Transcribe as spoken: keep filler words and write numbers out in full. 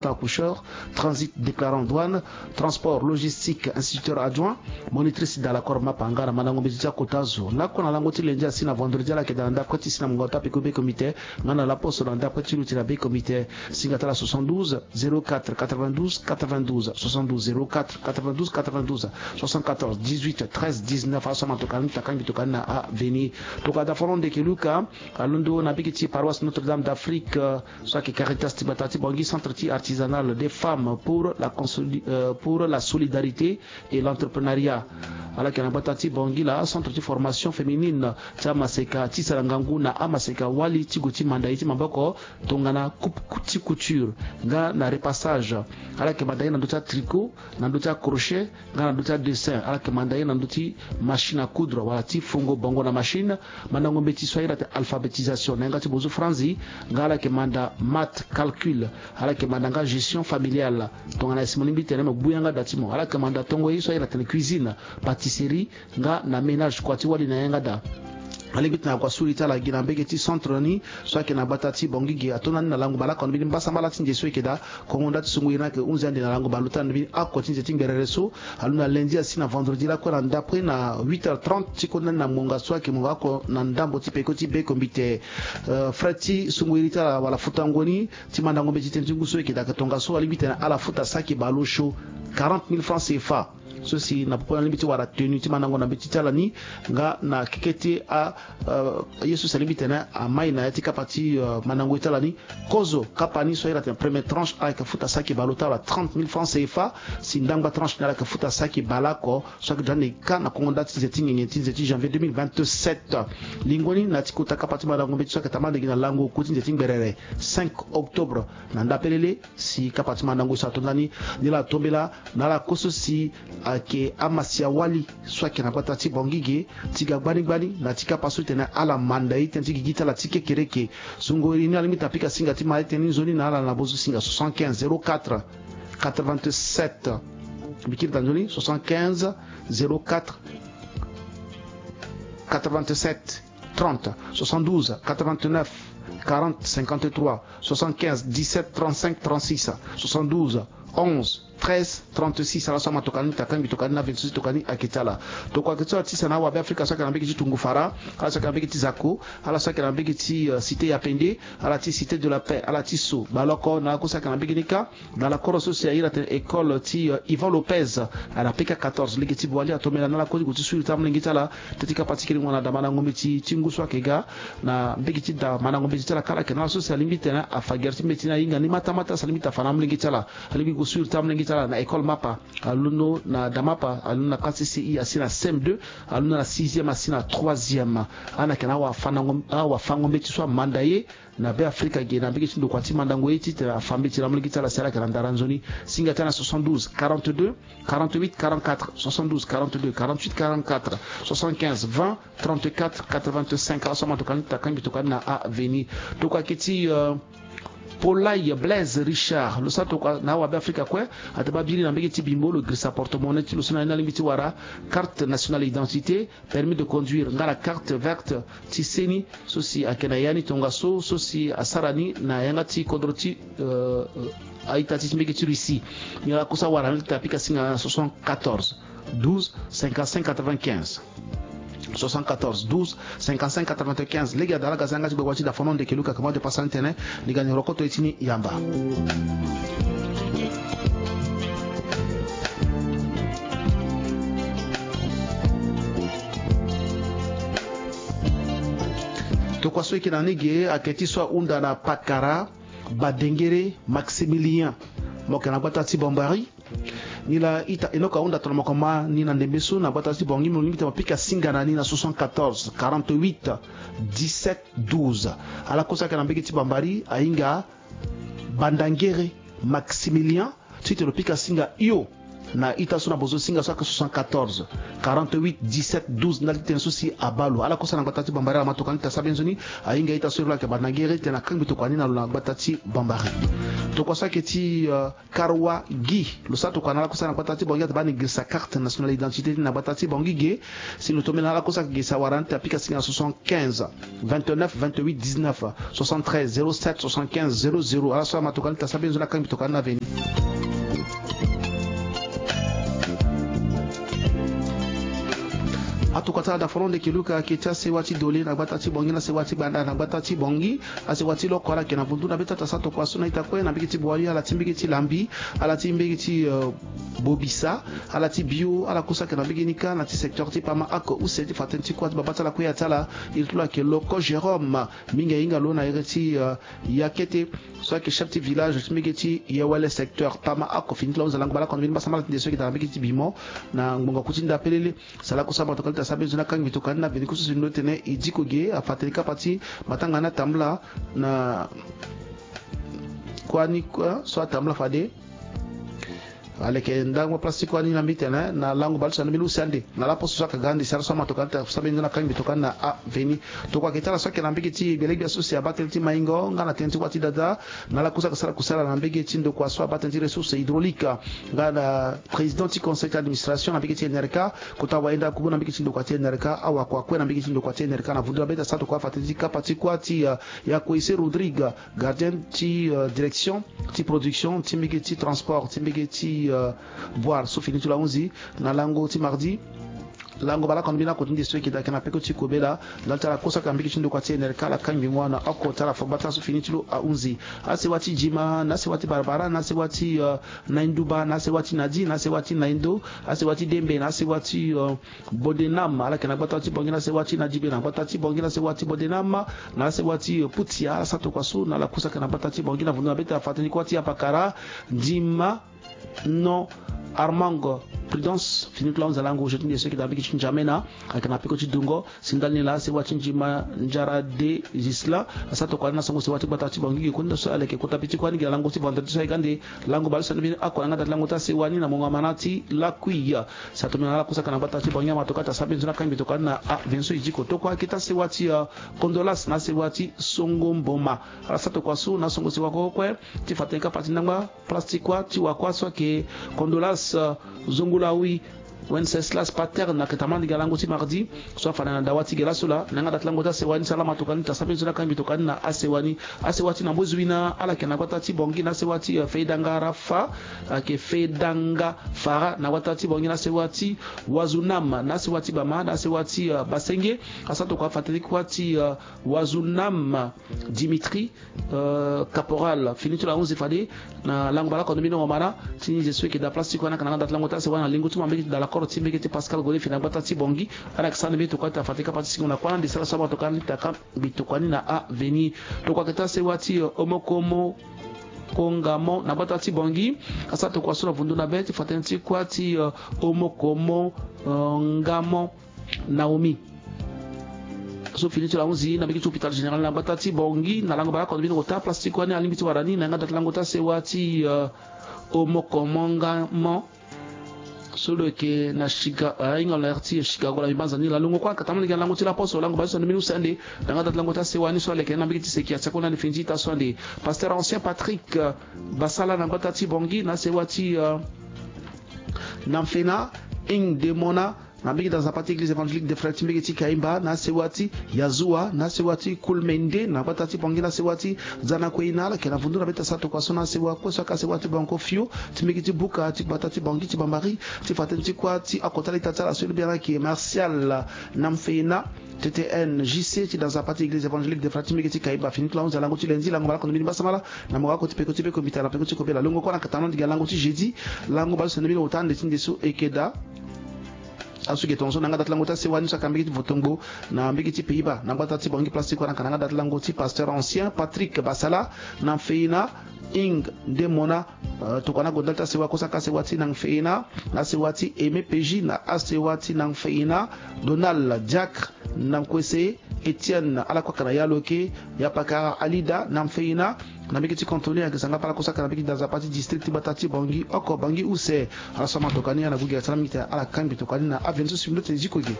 accoucheur, transit déclarant douane, transport logistique, instituteur adjoint, monitrice dans l'accord mapa, nga na mandango mbeti ti akota zo. Lakue na lango ti lundi asi na vendredi ala yeke daa na ndapre ti si na mungo ota peko be comité, nga na laposo na ndapre ti luti na be comité. Singa ti ala soixante-douze zéro quatre quatre-vingt-douze quatre-vingt-douze, soixante-douze zéro quatre quatre-vingt-douze quatre-vingt-douze, soixante-quatorze dix-huit treize dix-neuf. Aso ama tokani takangbi tokani na aveni. Tokada fono ndeke Luka alondo na mbege ti paroisse Notre-Dame d'Afrique, euh, so ayeke Caritas ti gbata ti Bangui, centre ti artisanal des femmes pour la consoli-, euh, pour la solidarité et l'entrepreneuriat. Ala yeke na gbata ti Bangui laa, centre ti formation féminine ti amaseka ti sara ngangu na amaseka wali ti gue ti manda ye ti maboko, tongana coupe ti couture nga na repassage. Ala yeke manda ye na ndö ti atricot, na ndö ti acrochet nga na ndö ti adessin. Ala yeke manda ye na ndö ti machine à coudre wala ti fongo bongo na machine. Mandango mbeti so ahiri atene alphabétisation na yanga ti bonzo franzi, nga ala yeke manda maths, calcul. Ala yeke manda nga gestion familiale, tongana e si mo lingbi tene mo gbu yanga da ti mo. Ala yeke manda tongo ye so ahiri atene cuisine, pâtisserie nga na ménage kua ti wali na yanga da. Alingbi tene akua suri ti ala gi na mbege ti centre ni so ayeke na gbata ti Bangui ge. Ato na ni na lango bale oko na mbeni mbasambala ti nze so e yeke daa. Kongo nda ti sungu iri ni ayeke hunzi ande na lango bale ota na mbeni oko ti nze ti ngberere so. Alondo na lundi asi na vendredi lakue na ndapre na huit heures trente ti konda ni na ngonga so ayeke ngonga oko na ndambo ti peko ti be kombite. Euh, frais ti sungu iri ti ala wala futango ni ti mandango mbeti ti tënë ti ngu so e yeke daa ayeke tongaso alingbi tene ala futa saki bale osio quarante mille francs C F A. So si na popo ni alingbi ti wara tenue ti mandango na mbeti ti ala ni, nga na keke ti a, euh, ye so si alingbi tene amai na ya ti kapa ti, euh, mandango ye ti ala ni. Kozo kapa ni so ahiri atene première tranche ala yeke futa saki bale ota wala trente mille francs C F A. Si ndangba tranche ni ala yeke futa saki bale oko so ayeke daa na e ka na kongo nda ti nze ti ngingi ti nze ti janvier deux mille vingt-sept. Lingoni na ya ti kota kapa ti mandango mbeti so ayeke tambala ndege na lango oku ti nze ti ngberere cinq octobre. Na ndapelele si kapa ti mandango so ato ndani, ni la atombela na ala kue so si ayeke amasia wali so ayeke na gbata ti Bangui ge, ti ga gbani gbani na ya ti kapa so ti tene ala manda ye tënë ti gigi ti ala ti kekereke. Sungo iri ni alingbi tene apika singa ti ma ye tënë ni nzoni na ala na bonzo singa soixante-quinze zéro quatre quatre-vingt-sept. Mbi kiri daa nzoni, soixante-quinze zéro quatre quatre-vingt-sept trente, soixante-douze quatre-vingt-neuf quarante cinquante-trois, soixante-quinze dix-sept trente-cinq trente-six, soixante-douze onze treize trente-six. Ala so ama tokani takangbi tokani na vingt-six tokani ayeke ti ala. Tokua ayeke ti ala ti sa na awabe afrika so ayeke na mbege ti tungu fara, ala so ayeke na mbege ti zako, ala so ayeke na mbege ti, euh, cité ya pende, ala ti cité de la paix, ala ti so baleoko na ala kue so ayeke na mbege ni kâ. Na lakoro so si ahiri atene école ti, euh, Ivan Lopez, ala peka quatorze lege ti Boali atombela na ala kue ti gue ti suri ti amolenge ti ala. Teti kapa ti kiringo na da mandango mbeti ti ngu so ayeke ga na mbege ti da mandango mbeti ti ala kâ, ala yeke na ala so si alingbi tene afa gere ti mbeti ni ahinga ni matamata si alingbi tene afa na amolenge ti ala. Alingbi gue suri ti amolenge ti ala na école mapa, alondo na da mapa, alondo na classe C I asi na C M deux, alondo na sixième asi na troisième. Ala yeke na awafandango, awafango mbeti so amanda ye na Be Afrika ge na mbege ti ndokua ti mandango ye titene afa mbeti na molenge ti ala si ala yeke na ndara nzoni. Singa ti ala na soixante-douze quarante-deux quarante-huit quarante-quatre, soixante-douze quarante-deux quarante-huit quarante-quatre, soixante-quinze vingt trente-quatre quatre-vingt-cinq. Ala so ama tokani takangbi tokani na aveni. Tokua ayeke ti, euh, Polai Blaise Richard, lo sara tokua na awabe afrika kue. Ate baa biri na mbege ti bimbo, lo girisa porte-monnaie ti lo so na ni alingbi ti wara carte nationale d'identité, permis de conduire nga na carte verte ti seni so si ayeke na ya ni tongaso, so si asara ni na yanga ti kodro ti, euh, a-ita ti mbege ti Russie. Ni ala kue so awara ni tene apika singa na soixante-quatorze douze cinquante-cinq quatre-vingt-quinze. Soixante-quatorze douze cinquante-cinq quatre-vingt-quinze. Lege ada ala ga za yanga ti gbagba ti da fono ndeke Luka, kama de pasa ni tene ni ga ni rokoto ye ti ni yamba. Tokua so e yeke na ni ge ayeke ti so ahunda na pakara Badengere Maximilien, mo yeke na gbata ti Bambari. Ni laa ita Enock ahunda tongana mo yeke ma ni na ndembe so na gbata ti Bangui, mo lingbi tene mo pika singa na ni na soixante-quatorze quarante-huit dix-sept douze. Ala kue so ayeke na mbege ti Bambari ahinga Bandangere Maximilien, titene lo pika singa hio Na ita so na bozo singa so ayeke soixante-quatorze, quarante-huit, dix-sept, douze, ndali ti tene so si abaa lo. Ala kosa na gbata ti Bambari, ala ma tokua ni ta sara be nzoni. Ahinga ita so e lo ayeke banda na gere tene akangbi tokua ni na lo na gbata ti Bambari. Tokua so ayeke ti, euh, Karwa Gi, lo sara tokua na ala kosa na gbata ti Bangui, ata baa ni girisa carte nationale d'identité ti na gbata ti Bangui ge. Si lo tombela na ala kosa ayeke girisa wara ni ta pika singa na soixante-quinze, vingt-neuf, vingt-huit, dix-neuf, soixante-treize, zéro sept, soixante-quinze, zéro zéro. Ala so ama tokua ni ta sara be nzoni akangbi tokua ni na veni. Atokua ti ala daforonde ke luka ayeke ti asewa ti Dole na gbata ti Bangui, na asewa ti Gbanda na gbata ti Bangui, asewa ti Loko ala yeke na vundu na be ta ta sara tokua so na ita kue na mbege ti Boali, ala ti mbege ti Lambi, ala ti mbege ti, euh, Bobisa, ala ti Bio, ala kosa ayeke na mbege ni kâ na ti secteur ti Pama Ako use ti fa tënë ti kuâ ti babâ ti ala kue ya ti ala. Iri ti lo ayeke Loko Jérôme, mingi ahinga lo na iri ti, euh, Yakete, so ayeke chef ti village ti mbege ti Yewele secteur Pama Ako. Fini ti lo ahunzi na lango bale oko na mbeni mbasambala ti nde so ayeke daa na mbege ti Bimo na ngbonga ku ti nda pelele. Sala kosa ama tokua ni ta sara be nzoni akangbi tokua ni na veni ku so si lo tene e diko ge afa tënë kapa ti matanga ni atambula na kuâ ni, kuâ so atambula fade. Aleke ndangba place ti kuâ ni na mbi tene na lango bale ti so na mbeni use ande na laposo so ayeke ga ande. Sara so ama tokua ni ta sara be nzoni akangbi tokua ni na aveni. Tokua ayeke ti ala so ayeke na mbege ti gbele gbia so si abaa tënë ti maingo nga na tënë ti kuâ ti dada. Na ala kosa ayeke sara kusala na mbege ti ndokua so abaa tënë ti ressource hydraulique nga na président ti conseil ti administration na mbege ti N R K. Kota wayenda kubu na mbege ti ndokua ti N R K, awakua kue na mbege ti ndokua ti N R K na vundu na be ta sara tokua afa tënë ti kapa ti kuâ ti, euh, Yakoise Rodrigue, gardien ti, euh, direction ti production ti mbege ti transport ti mbege ti, euh, Boire so fini ti lo ahunzi na lango ti mardi. Lango bale oko na mbeni akota nde so e yeke daa ayeke na peko ti kobela. Ndali ti ala kosa ayeke na mbege ti ndokua ti N R K, ala kangbi ngua na oko ti ala fo gbata so fini ti lo ahunzi. Asewa ti Jima, na asewa ti Barbara, na asewa ti, euh, Nainduba, na asewa ti Nadi, na asewa ti Naindo, asewa ti Dembe, na asewa ti, euh, Bodenam, ala yeke na gbata ti Bangui, na asewa ti Nadibe na gbata ti Bangui, na asewa ti Bodenam, na asewa ti, euh, Putia, ala sara tokua so na ala kosa ayeke na gbata ti Bangui na vundu na be ta fa tënë ti kuâ ti apakara, Ndima, non, Armand, Prudence, fini ti lo ahunzi na lango jeu ti nde so e yeke daa mbege ti N'Djamena, ayeke na peko ti dungo. Si ndali ni laa asewa ti Ndjima Ndiara de Gisela asara tokua ni na songo sewa ti gbata ti Bangui ge kue, nde so ala yeke kota be ti kuâ ni ge na lango ti vendredi so aye ga ande. Lango bale so na mbeni oko na yanga da ti lango ti asewa ni na mongo amana ti lakui. Si atongbi na ala kosa ayeke na gbata ti Bangui ama tokua ti asara be nzoni akangbi tokua ni na aveni so e diko. Tokua ayeke ti asewa ti, euh, Kondolas na asewa ti Songo Mboma. Ala sara tokua so na songo sewa kue kue ti fa tënë kapa ti ndangba place ti kuâ ti wakuâ so ayeke Kondolas, euh, Zongolawi Wenceslas Paterne ayeke tambula na ndinga lango ti mardi so afa na dawa ti ge laso laa. Na yanga da ti lango ti asewa ni, si ala ma tokua ni, ta sara be nzoni akangbi tokua ni na asewa ni. Asewa ti na mbozui na ala yeke na gbata ti Bangui na asewa ti, euh, Feidanga Rafa, ayeke Feidanga Fara na gbata ti Bangui na asewa ti Wazunam, na asewa ti Bama, na asewa ti, euh, Basenge. Asara tokua afa tënë ti kuâ ti, euh, Wazunam Dimitri, euh, Caporal, fini ti lo ahunzi fade na lango bale oko na mbeni ngomana ti ni ze so e yeke daa place ti kuâ ni ayeke na yanga da ti lango ti asewa na lingo ti mo na mbege ti dalakoro ti mbege ti Pascal Gode fini na gbata ti Bangui. Ala yeke sara na mbeni tokua ti afa tënë kapa ti singo na kuâ na ande. Sara so ama tokua ni ta kangbi tokua ni na aveni. Tokua ayeke ti asewa ti, euh, Omokomo Kongamo na gbata ti Bangui. Asara tokua so na vundu na be ti fa tënë ti kuâ ti, euh, Omokomo, euh, Ngamo Naomi so fini ti lo ahunzi na mbege ti hôpital général na gbata ti Bangui na lango bale oko na mbeni ota place ti kuâ ni alingbi ti wara ni na yanga da ti lango ti asewa ti, euh, Omokomo Ngamo so lo yeke na Chica, euh, ahinga lo na iri ti Chicago na mbi banza ni laa. Longo kue ayeke tambula na ndinga lango ti laposo lango bale so na mbeni use ande. Na yanga da ti lango ti asewa ni so aleke na mbege ti seki atia kue na ni fini ti ita so ande. Pasteur ancien Patrick, euh, Basala na gbata ti Bangui na asewa ti, euh, Namfena, Ing Demona, na mbege ti Nzapa ti Église Évangélique des Frères ti mbege ti Kaimba, na asewa ti Yazua, na asewa ti Kulmende na gbata ti Bangui, na asewa ti Zanakueina, ala yeke na vundu na be ti asara tokua so na asewa kue so ayeke asewa ti Banko Fio ti mbege ti Buka ti gbata ti Bangui ti Bambari, ti fa tënë ti kuâ ti akota leta ti ala so e lobi ala yeke Martial Namfena, T T N J C ti da Nzapa ti Église Évangélique des Frères ti mbege ti Kaimba. Fini ti lo ahunzi na lango ti lundi, lango bale oko na mbeni mbasambala na mongo oko ti peko ti be kombita na peko ti kobela. Longo kue na yeke tambula na ndinga lango ti jeudi, lango bale so na mbeni ota ande ti nde so e yeke daa asu ge tongaso na yanga da ti lango ti asewa ni so ayeke na mbege ti Votongbo na mbege ti Pays-Bas na gbata ti Bangui, place ti kuâ ni ayeke na yanga da ti lango ti Pasteur ancien Patrick Basala Namfena, Ing Demona, euh, tokua ni ague ndali ti asewa kue so ayeke asewa ti Namfena, na asewa ti Aimé Peji, na asewa ti Namfena Donald Diacre Namkuese, Etienne, ala kue ayeke na ya lo yeke, ya pakara Alida Namfena, Na mbege ti kantoni ayeke zanga bala kusaka na mbege ti da nzapa ti district ti gbata ti bangi oko bangi use. Ala so ama tokua ni ala gue gi asara mingi te ala kangbi tokua ni na avenue so si mbi lote ziko ge.